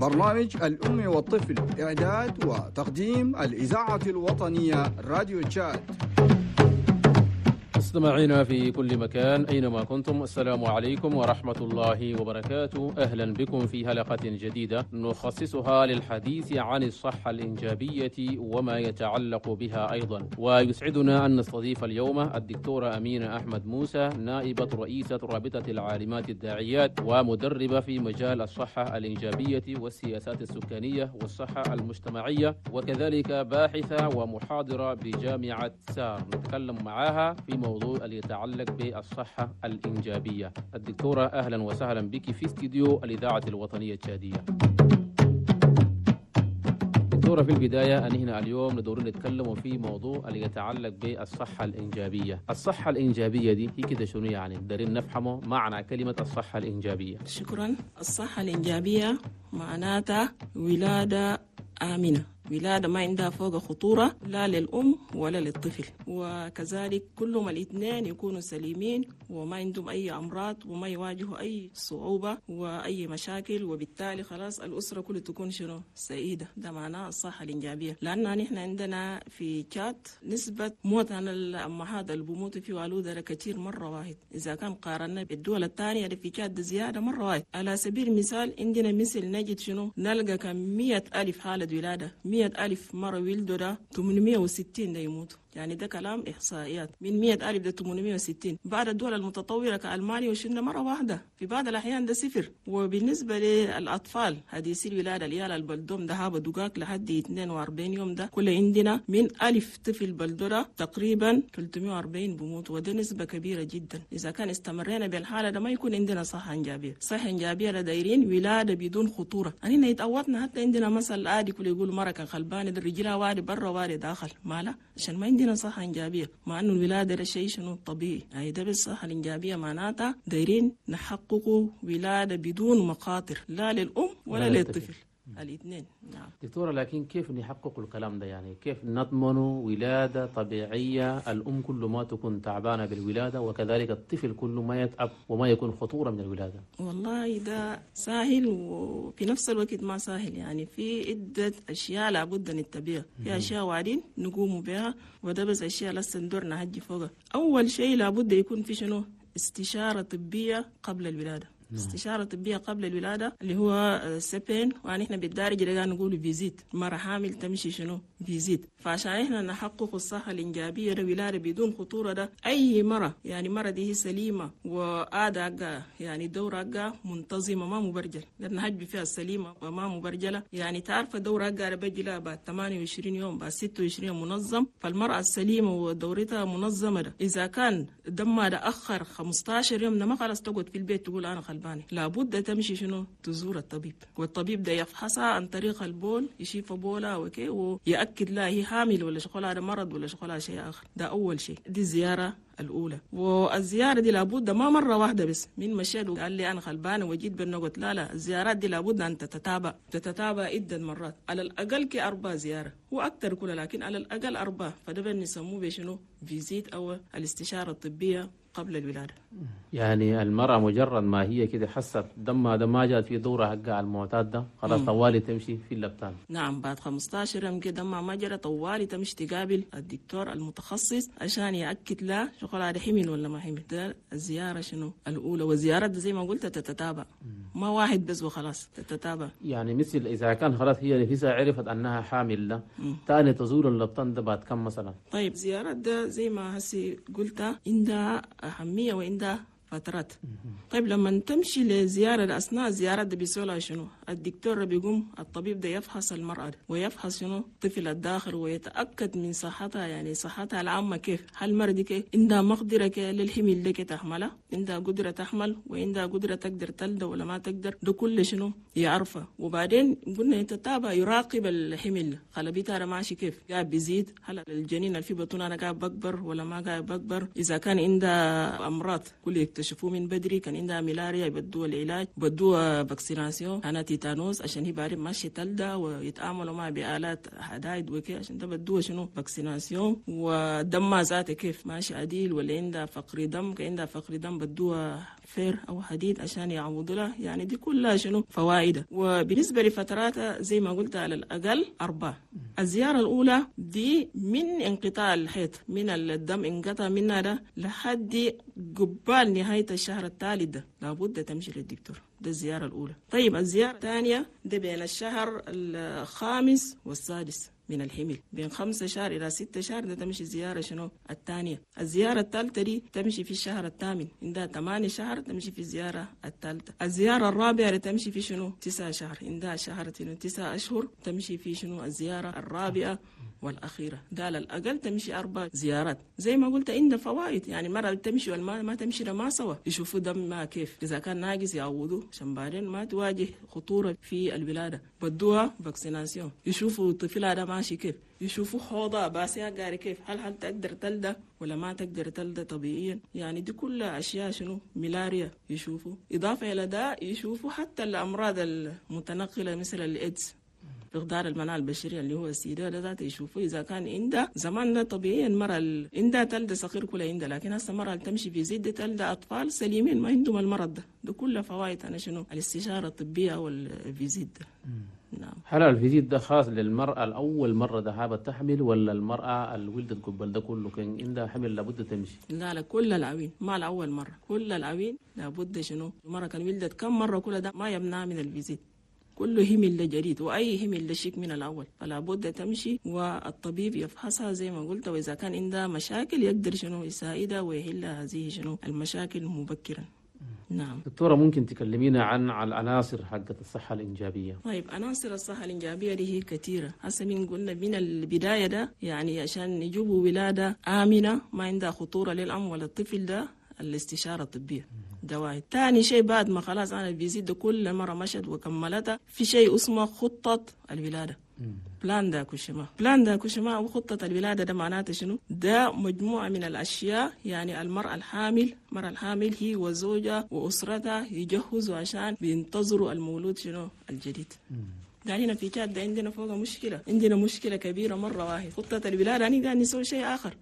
برنامج الأم والطفل، إعداد وتقديم الإذاعة الوطنية راديو تشاد. مستمعينا في كل مكان أينما كنتم، السلام عليكم ورحمة الله وبركاته. أهلا بكم في حلقة جديدة نخصصها للحديث عن الصحة الإنجابية وما يتعلق بها أيضا. ويسعدنا أن نستضيف اليوم الدكتورة أمينة أحمد موسى، نائبة رئيسة رابطة العالمات الداعيات ومدربة في مجال الصحة الإنجابية والسياسات السكانية والصحة المجتمعية، وكذلك باحثة ومحاضرة بجامعة سار. نتكلم معها في موضوع اللي يتعلق بالصحة الإنجابية. الدكتورة أهلا وسهلا بك في استديو الإذاعة الوطنية التشادية. دكتورة، في البداية أن هنا اليوم ندور نتكلم في موضوع اللي يتعلق بالصحة الإنجابية. الصحة الإنجابية دي هي كده شنو يعني؟ دارين نفهمه معنى كلمة الصحة الإنجابية. شكرا. الصحة الإنجابية معناتها ولادة آمنة، ولادة ما عندها فوق خطورة لا للأم ولا للطفل، وكذلك كلهم الاثنين يكونوا سليمين وما عندهم أي أمراض وما يواجهوا أي صعوبة وأي مشاكل، وبالتالي خلاص الأسرة كلها تكون شنو سعيدة. ده معناه الصحة الإنجابية. لأن نحن عندنا في تشاد نسبة موت عن الأمهات اللي بموتوا في والودة كثير مرة واحد، إذا كان قارنا بالدول الثانية اللي في تشاد زيادة مرة واحد. على سبيل المثال عندنا مثل نجد شنو نلقى كم 100,000 حالة ولادة، 100,000 مرة ولدوا ده 860 ده يموتوا. يعني ده كلام إحصائيات، من 100,000 ده 860. بعد الدول المتطورة كألمانيا وشنا مرة واحدة، في بعض الأحيان ده صفر. وبالنسبة للأطفال حديثي الولادة العيال البلدوم ده هابا دقاق لحد 42 يوم، ده كل عندنا من 1000 طفل بلدورة تقريبا 340 بموت، وده نسبة كبيرة جدا. إذا كان استمرينا بالحالة ده ما يكون عندنا صحة إنجابية. صحة إنجابية دايرين ولادة بدون خطورة. أننا يتعودنا حتى عندنا مثل عادي كل يقول مرة كان خلبان الرجلها واري برا واري داخل مالا، عشان ما عندنا صحة إنجابية، مع إنه الولادة ده شيء شنو طبيعي. يعني ده بالصحة الإنجابية معناتها دايرين نحققوا ولادة بدون مخاطر لا للأم ولا للطفل، الاثنين. نعم دكتورة، لكن كيف نحقق الكلام ده؟ يعني كيف نضمن ولادة طبيعية، الأم كل ما تكون تعبانة بالولادة وكذلك الطفل كل ما يتعب وما يكون خطورة من الولادة؟ والله ده سهل وفي نفس الوقت ما سهل. يعني في عدة أشياء لابد نتبعها، في أشياء وعدين نقوم بها، وده بس أشياء لسه ندور نهجي فوقها. أول شيء لابد يكون في شنو استشارة طبية قبل الولادة. استشارة طبية قبل الولادة اللي هو CPN، ونحن بالدارجة اللي نقول visite. مرة حامل تمشي شنو visite. فعشان احنا نحقق الصحة الإنجابية ده ولادة بدون خطورة، ده أي مرة يعني مرة دي هي سليمة وآداء يعني دورة منتظمة ما مبرجلة، لأن هجب فيها السليمة وما مبرجلة. يعني تعرف دورة بجي لها بعد 28 يوم بعد 26 يوم منظم. فالمرأة السليمة ودورتها منظمة ده إذا كان دمها ده أخر 15 يوم ده ما خلاص تقعد في البيت تقول أنا خلبان، لابد تمشي شنو تزور الطبيب، والطبيب ده يفحصها عن طريق البول، يشوف بولها وكي ويأكد لها هي حامل ولا شغلها مرض ولا شغلها شيء آخر. ده أول شيء، دي الزيارة الأولى. والزيارة دي لابد ما مرة واحدة بس من مشيت وقال لي أنا خلبانة وجيت بالنقط، لا لا، الزيارات دي لابد أن تتتابع عدة مرات، على الأقل كي 4 زيارة وأكثر كلها، لكن على الأقل 4. فده بنسموه بشنو visite أو الاستشارة الطبية قبل الولادة. يعني المرأة مجرد ما هي كده حست دمها ده ما جات في دورة حقها المعتاد ده خلاص طوالي تمشي في اللبتان. نعم، بعد 15 يوم كده دمها ما جرى طوالي تمشي تقابل الدكتور المتخصص عشان يأكد لها شغل هذا حمل ولا ما حمل. ده الزيارة شنو الأولى، والزيارة ده زي ما قلت تتتابع، ما واحد بس وخلاص، تتتابع. يعني مثل إذا كان خلاص هي نفسها عرفت أنها حامل ده تاني تزور اللبتان ده بعد كم مثلا؟ طيب زيارة ده زي ما هسي قلت عندها أهمية وعندها فترات. طيب لما تمشي لزيارة أثناء الزيارة ده بيسألها شنو؟ الدكتور بيقوم الطبيب ده يفحص المرأة ده ويفحص شنو الطفل الداخل ويتأكد من صحتها، يعني صحتها العامة كيف، هل المرأة دي كيف عندها مقدرة للحمل ده تحملها، عندها قدرة تحمل وعندها قدرة تقدر تلد ولا ما تقدر، ده كل شنو يعرفه. وبعدين قلنا يتتابع يراقب الحمل، خلبيتها ماشي كيف، قاعد بيزيد، هل الجنين اللي في بطنها أنا قاعد بكبر ولا ما قاعد بكبر، إذا كان عندها أمراض كل يكتشفوه من بدري، كان عندها ملاريا يبدوها العلاج، بدوها vaccination أنا تيتانوس عشان هي بعدين ماشي تلدى ويتعاملوا معها بآلات حدايد وكي عشان ده بدوها شنو vaccination. ودمها ذاته كيف ماشي عديل ولا عندها فقر دم، كان عندها فقر دم بدوها fer أو حديد عشان يعوضوا لها. يعني دي كلها شنو فوائد. وبالنسبة لفتراتها زي ما قلت على الأقل 4. الزيارة الأولى دي من انقطاع الحيض، من الدم انقطع منها ده لحد قبال نهاية الشهر الثالث ده لابد تمشي للدكتور، ده الزيارة الأولى. طيب الزيارة الثانية ده بين الشهر الخامس والسادس من الحمل، بين 5 شهر إلى 6 شهر ده تمشي زيارة شنو الثانية. الزيارة الثالثة دي تمشي في الشهر الثامن، عندها 8 شهر تمشي في الزيارة الثالثة. الزيارة الرابعة تمشي في شنو 9 شهر، عندها شهر 9 أشهر تمشي في شنو الزيارة الرابعة والأخيرة. ده على الأقل تمشي 4 زيارات. زي ما قلت عندها فوائد، يعني مرة تمشي والما ما تمشي ما سوا، يشوفوا دم ما كيف، إذا كان ناقص يعوضوه عشان بعدين ما تواجه خطورة في الولادة. بدوها vaccination، يشوفوا طفلها ده ماشي كيف، يشوفوا حوضها باسيها قاري كيف، هل تقدر تلدى ولا ما تقدر تلدى طبيعيا. يعني دي كلها أشياء شنو ملاريا يشوفوا. إضافة إلى ده يشوفوا حتى الأمراض المتنقلة مثل الإيدز، فقدان المناعة البشرية اللي هو السيدة ده ذاته يشوفوا إذا كان عندها. زمان ده طبيعيا المرأة عندها تلد صغير كلها عندها، لكن هسه المرأة تمشي في زيد تلد أطفال سليمين ما عندهم المرض ده. ده كله فوائد أنا شنو الاستشارة الطبية وال visite ده. نعم. هل ال visite ده خاص للمرأة الأول مرة ذهابت تحمل، ولا المرأة اللي ولدت قبل ده كله كان عندها حمل لابد تمشي؟ لا لا، كل العوين ما الأول مرة، كل العوين لابد شنو المرأة كان ولدت كم مرة كل ده ما يمنع من ال visite، كله همل جديد وأي همل لشيك من الأول، فلا بد تمشي والطبيب يفحصها زي ما قلت، وإذا كان عندها مشاكل يقدر شنو يساعدها ويحل هذه شنو المشاكل مبكرا. نعم. دكتورة ممكن تكلمينا عن العناصر حقت الصحة الإنجابية؟ طيب عناصر الصحة الإنجابية دي هي كثيرة. هسه من قلنا من البداية ده يعني عشان نجيبوا ولادة آمنة ما عندها خطورة للأم ولا الطفل ده الاستشارة الطبية ده واحد. تاني شيء بعد ما خلاص أنا visite ده كل مرة مشت وكملتها، في شيء اسمه خطة الولادة، plan d'accouchement. plan d'accouchement أو خطة الولادة ده معناته شنو؟ ده مجموعة من الأشياء يعني المرأة الحامل، المرأة الحامل هي وزوجها وأسرتها يجهزوا عشان بينتظروا المولود شنو الجديد. يعني هنا في تشاد عندنا فوق مشكلة، عندنا مشكلة كبيرة مرة واحد. خطة الولادة يعني قاعد نسوي شيء آخر.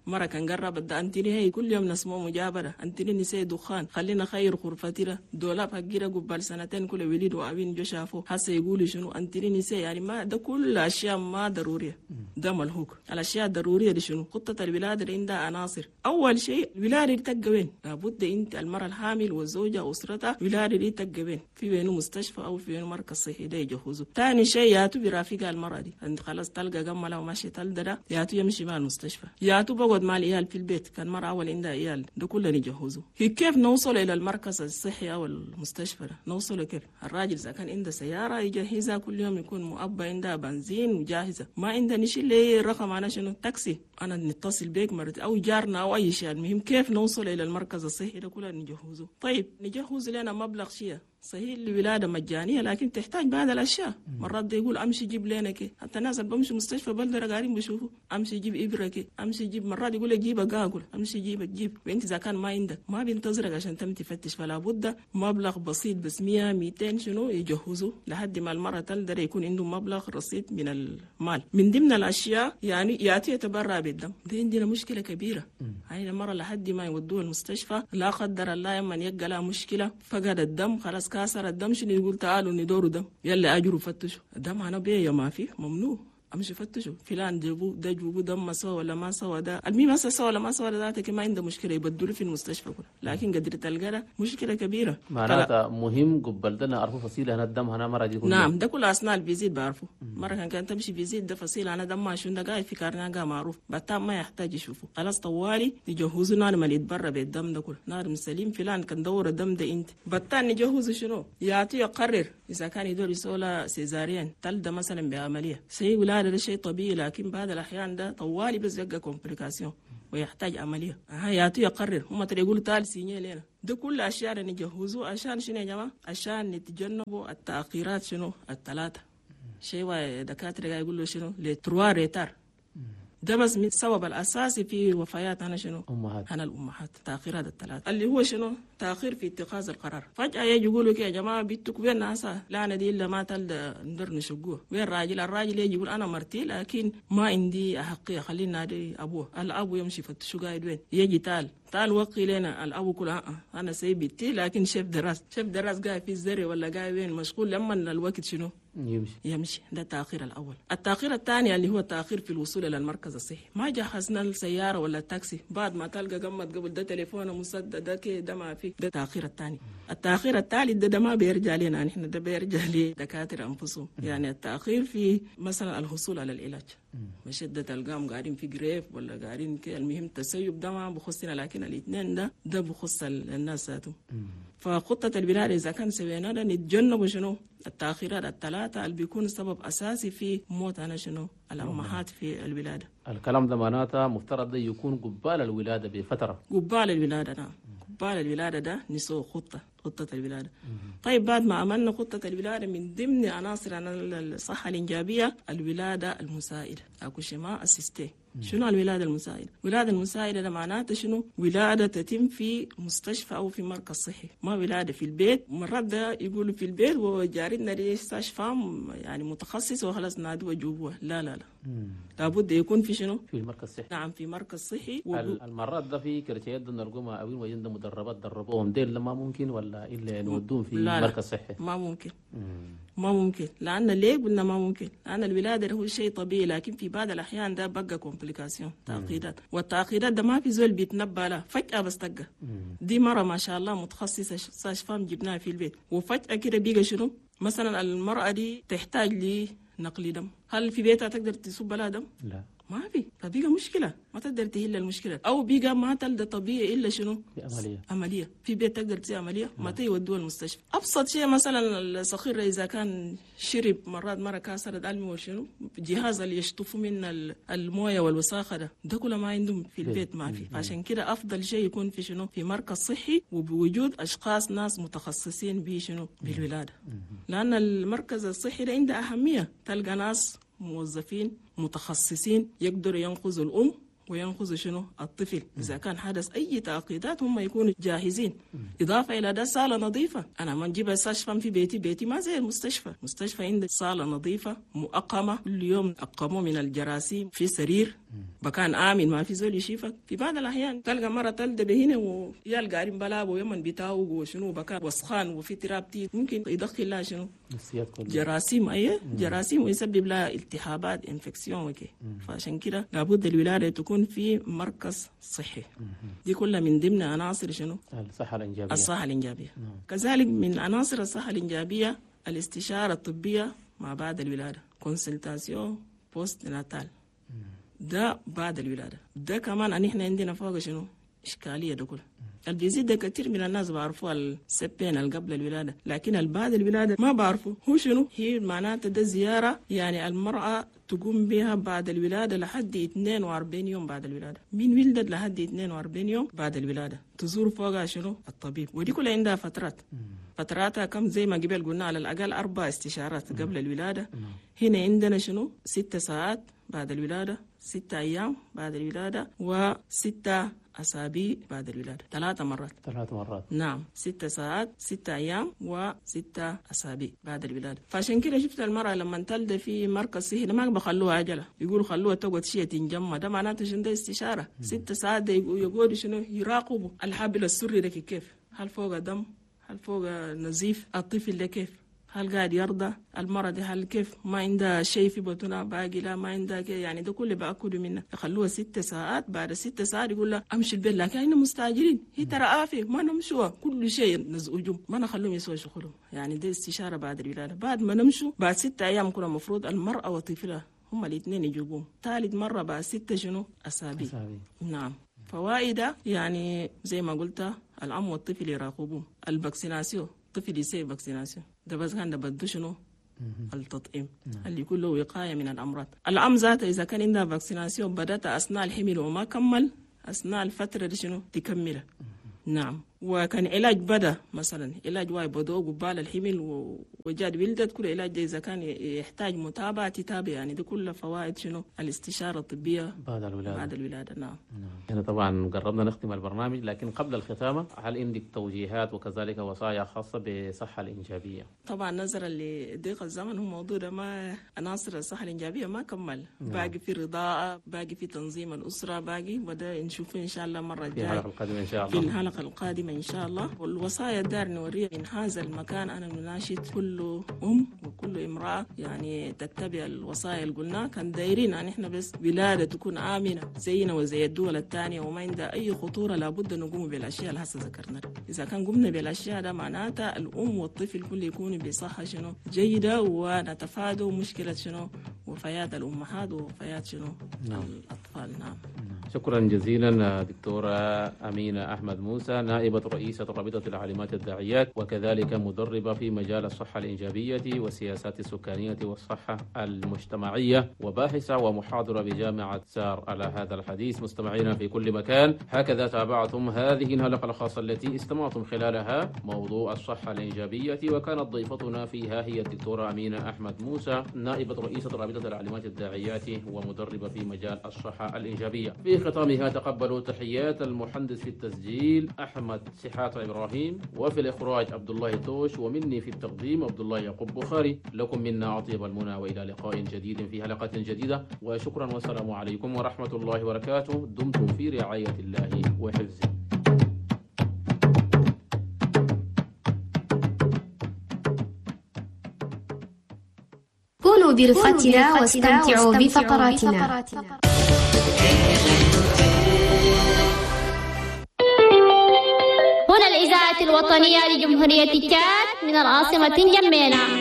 مرة كان قرب ده أنتني هي كل يوم نسمع مجابرة، أنتني نسي دخان، خلينا خير غرفتنا دولاب حقيرة قبل سنتين كل وليد وأبين جو شافوه هسه يقولوا شنو أنتني نسي. يعني ما ده كل أشياء ما ضرورية، ده ملهوك. الأشياء الضرورية دي شنو؟ خطة الولادة اللي عندها عناصر. أول شيء الولادة دي تبقى وين؟ لابد أنت المرأة الحامل والزوجة وأسرتها الولادة دي تبقى وين؟ في وينه مستشفى أو في وينه مركز صحي ده يجهزه. ثاني شيء ياتو برافقها المرأة دي، أنت خلاص تلقى جملة وماشي تلدى ده ياتو يمشي مع المستشفى، ياتو بقعد مع العيال في البيت، كان مرة أول عندها عيال ده كله نجهزه. هي كيف نوصل إلى المركز الصحي أو المستشفى ده؟ نوصل كيف؟ الراجل إذا كان عنده سيارة يجهزها كل يوم، يكون مؤبى عندها بنزين وجاهزة، ما عنده نشيل ليه رقم أنا شنو تاكسي، أنا نتصل بيك مرة أو جارنا أو أي شيء. المهم كيف نوصل إلى المركز الصحي ده كله نجهزه. طيب نجهز لنا مبلغ شيء صحيح الولادة مجانية لكن تحتاج بعض الأشياء. مرات ده يقول أمشي جيب لنا كي، حتى الناس اللي بمشي مستشفى بلدرة قاعدين بيشوفوا أمشي جيب إبرة كي، أمشي جيب، مرات يقول لك جيب أقاقل، أمشي جيب جيب، وأنت إذا كان ما عندك ما بينتظرك عشان تم تفتش. فلا بد مبلغ بسيط بس 100 200 شنو يجهزوا لحد ما المرة تلدر يكون عنده مبلغ رصيد من المال. من ضمن الأشياء يعني يأتي يتبرع بالدم، ده عندنا مشكلة كبيرة. هاي المرة لحد ما يودوه المستشفى لا قدر الله يمن يلقى لها مشكلة فقد الدم خلاص كاسر الدم شنو يقول تعالوا ندوروا دم، يلا اجروا فتشوا الدم انا بيه ما فيه ممنوع، امشي فتشوا فلان جابوه ده جابوه دم ما سوى ولا ما سوى ده، المهم هسه سوى ولا ما سوى ذاتك ما عنده مشكله يبدلوا في المستشفى كله، لكن قدرت تلقى مشكله كبيره. معناتها مهم قبل ده نعرفوا فصيله هنا الدم هنا مرة دي. نعم ده كله اثناء ال visite بعرفه. مره كان تمشي visite ده فصيله انا دم ما شو ده قاعد في carnet معروف بتاع ما يحتاج يشوفه خلاص طوالي يجهزوا نار ما يتبرع بالدم ده كله نار سليم فلان كان دور الدم ده انت بتاع نجهزه شنو يعطي يقرر اذا كان يدور يسولا césarienne تلده مثلا بعمليه سي ولا هذا شيء طبيعي، لكن بعض الأحيان ده طوالي بس يبقى complication ويحتاج عملية. ياتي يقرر هم ترى يقولوا تعال signer لنا. ده كل أشياء نجهزوه عشان شنو يا جماعة؟ عشان نتجنبوا التأخيرات شنو الثلاثة. شيء دكاترة يقولوا شنو les trois retards. ده بس من السبب الأساسي في وفيات أنا شنو؟ أمهات. أنا الأمهات تأخيرات الثلاثة اللي هو شنو؟ تاخير في اتخاذ القرار. فجاة يجي يقولوا يا جماعة بنتك وين ناسا؟ لا انا دي الا ما تلد ندر نشقوه. وين الراجل؟ الراجل يجي يقول انا مرتي لكن ما عندي احقية، خلينا نادي ابوه. الابو يمشي يفتشوا قاعد وين، يجي تعال وقي لنا الابو كله انا سايب بنتي لكن chef de race، chef de race قاعد في الزري ولا قاعد وين مشغول، لما الوقت شنو يمشي. ده التاخير الاول. التاخير الثاني اللي هو التاخير في الوصول الى المركز الصحي، ما جهزنا السيارة ولا التاكسي، بعد ما تلقى قمت قبل ده تليفونه مسدد ده كده ما في، ده التاخير الثاني. التاخير الثالث ده ما بيرجع لنا نحن، ده بيرجع لدكاتره انفسهم. يعني التاخير في مثلا الحصول على العلاج، مشدة تلقاهم قاعدين في grève ولا قاعدين كده، المهم التسيب ده ما بخصنا، لكن الاثنين ده بخص الناس ذاتهم. فخطة الولادة إذا كان سوينا ده نتجنب شنو التأخيرات الثلاثة اللي بيكون سبب أساسي في موت أنا شنو الأمهات في الولادة. الكلام ده معناته مفترض ده يكون قبال الولادة بفترة. قبال الولادة نعم، قبال الولادة ده نسوي خطة الولادة. طيب بعد ما عملنا خطة الولادة، من ضمن عناصر الصحة الإنجابية الولادة المساعدة، accouchement assisté. شنو الولادة المساعدة؟ الولادة المساعدة ده معناته شنو؟ ولادة تتم في مستشفى أو في مركز صحي، ما ولادة في البيت. مرات ده يقولوا في البيت وجارتنا دي sage-femme يعني متخصص وخلاص نادوه جوه. لا لا لا، لابد يكون في شنو؟ في المركز الصحي. نعم، في مركز صحي. المرات ده في كرتيات نرقمها أوين وين مدربات دربوهم ديل ما ممكن ولا إلا نودوهم في مركز صحي؟ ما ممكن. ما ممكن، لأن ليه قلنا ما ممكن؟ لأن الولادة هو شيء طبيعي، لكن في بعض الأحيان ده بقى complication، تعقيدات، والتعقيدات ده ما في زول بيتنبأ له، فجأة بس تقى. دي مرة ما شاء الله متخصصة sage-femme جبناها في البيت، وفجأة كده بيقى شنو؟ مثلا المرأة دي تحتاج لنقل دم، هل في بيتها تقدر تصب لها دم؟ لا، ما في، فبيقى مشكلة، ما تقدر تهل المشكلة، أو بيقى ما تلد طبيعي إلا شنو؟ عملية. في بيت تقدر تسوي عملية؟ ما تيودوها المستشفى. أبسط شيء مثلا الصغير إذا كان شرب مرات مرة كسرت ألمي وشنو، جهاز اللي يشطفوا من الموية والوساخة ده كله ما عندهم في البيت، ما في. عشان كده أفضل شيء يكون في شنو؟ في مركز صحي، وبوجود أشخاص ناس متخصصين بشنو؟ بالولادة. لأن المركز الصحي ده عنده أهمية، تلقى ناس موظفين متخصصين يقدروا ينقذوا الأم وينقذوا شنو الطفل. إذا كان حدث أي تعقيدات هم يكونوا جاهزين. إضافة إلى ده صالة نظيفة، أنا ما نجيب sage-femme في بيتي، بيتي ما زي المستشفى، مستشفى عندك صالة نظيفة مؤقمة، كل يوم أقموا من الجراثيم، في سرير مكان آمن ما في زول يشيفك. في بعض الأحيان تلقى مرة تلد بهنا ويال قاعدين بلاب ويمن بيتاوق وشنو بكان وسخان وفي تراب تي، ممكن يدخل لها شنو جراثيم، أيه جراثيم، ويسبب لها التهابات infection وكي. فعشان كده لابد الولادة تكون في مركز صحي. دي كلها من ضمن عناصر شنو الصحة الإنجابية. الصحة الإنجابية. كذلك من عناصر الصحة الإنجابية الاستشارة الطبية مع بعد الولادة، consultation postnatale، ده بعد الولادة. ده كمان أن إحنا عندنا فوق شنو إشكالية ده كله. اللي بيزيد ده كثير من الناس بعرفوا ال CPN اللي قبل الولادة، لكن بعد الولادة ما بعرفوا هو شنو هي. معناته ده زيارة يعني المرأة تقوم بها بعد الولادة لحد 42 يوم بعد الولادة، من ولدت لحد 42 يوم بعد الولادة تزور فوقها شنو الطبيب. ودي كلها عندها فترات، فتراتها كم زي ما قبل قلنا على الأقل 4 استشارات قبل الولادة. هنا عندنا شنو 6 ساعات بعد الولادة، 6 أيام بعد الولادة، و6 أسابيع بعد الولادة، 3 مرات. 3 مرات نعم، 6 ساعات، 6 أيام، و6 أسابيع بعد الولادة. فعشان كده شفت المرأة لما تلد في مركز صحي ما بخلوها عجلة، يقولوا خلوها تقعد شيء تنجمع، ده معناته شنو ده استشارة. 6 ساعات ده يقعدوا شنو يراقبوا الحبل السري ده كيف، هل فوق دم، هل فوق نزيف، الطفل ده كيف، هل قاعد يرضى، المرض هل كيف، ما عندها شيء في بطنها باقي، لا ما عندها يعني ده كله بأكلوا منه. يخلوها 6 ساعات، بعد 6 ساعات يقول لها امشي البيت، لكن احنا مستعجلين، هي ترى آفة ما نمشوها، كل شيء نزعجهم، ما نخلوهم يسووا شغلهم. يعني ده استشارة بعد الولادة. بعد ما نمشوا بعد 6 أيام كنا المفروض المرأة وطفلها هم الاثنين يجيبوهم. ثالث مرة بعد 6 شنو أسابيع. نعم. فوائد يعني زي ما قلت الأم والطفل يراقبوه. ال vaccination، الطفل يسوي vaccination ده بس كان ده بدو شنو التطعيم اللي يكون له وقاية من الأمراض. الأم ذاتها إذا كان عندها vaccination بدأت أثناء الحمل وما كمل أثناء الفترة دي شنو تكملها. نعم. وكان علاج بدا مثلا علاج واي بدو قبال الحمل وجاد ولدت، كل علاج ده إذا كان يحتاج متابعة تتابع. يعني دي كل فوائد شنو الاستشارة الطبية بعد الولادة. بعد الولادة نعم. هنا طبعا قربنا نختم البرنامج، لكن قبل الختامة هل عندك توجيهات وكذلك وصايا خاصة بالصحة الإنجابية؟ طبعا نظرا لضيق الزمن هو موضوع ده ما عناصر الصحة الإنجابية ما كمل. نعم. باقي في رضاعة، باقي في تنظيم الأسرة، باقي وده نشوفه إن شاء الله مرة في الجاية الحلقة القادمة إن شاء في الله. الحلقة القادمة إن شاء الله. والوصايا الدار نوريها من هذا المكان، أنا نناشد كل أم وكل امرأة يعني تتبع الوصايا اللي قلناها. كان دايرين يعني إحنا بس ولادة تكون آمنة زينا وزي الدول الثانية وما عندها أي خطورة، لابد نقوم بالأشياء اللي هسه ذكرناها. إذا كان قمنا بالأشياء ده معناتها الأم والطفل كل يكونوا بصحة شنو جيدة، ونتفادى مشكلة شنو وفيات الأمهات ووفيات شنو نعم. الأطفال. نعم. شكرا جزيلا دكتورة أمينة أحمد موسى، نائبة رئيسة رابطة العالمات الداعيات وكذلك مدربة في مجال الصحة الإنجابية والسياسات السكانية والصحة المجتمعية، وباحثة ومحاضرة بجامعة سار. على هذا الحديث مستمعينا في كل مكان، هكذا تابعتم هذه الحلقة الخاصة التي استمعتم خلالها موضوع الصحة الإنجابية، وكانت ضيفتنا فيها هي الدكتورة أمينة أحمد موسى، نائبة رئيسة رابطة العالمات الداعيات ومدربة في مجال الصحة الإنجابية. في ختامها تقبلوا تحيات المهندس في التسجيل أحمد سحات إبراهيم، وفي الإخراج عبد الله توش، ومني في التقديم عبد الله يعقوب بخاري. لكم منا أطيب المنى، وإلى لقاء جديد في حلقة جديدة، وشكرا والسلام عليكم ورحمة الله وبركاته. دمتم في رعاية الله وحفظه. كونوا برفقتنا واستمتعوا بفقراتنا. هنا الإذاعة الوطنية لجمهورية تشاد من العاصمة جمينة.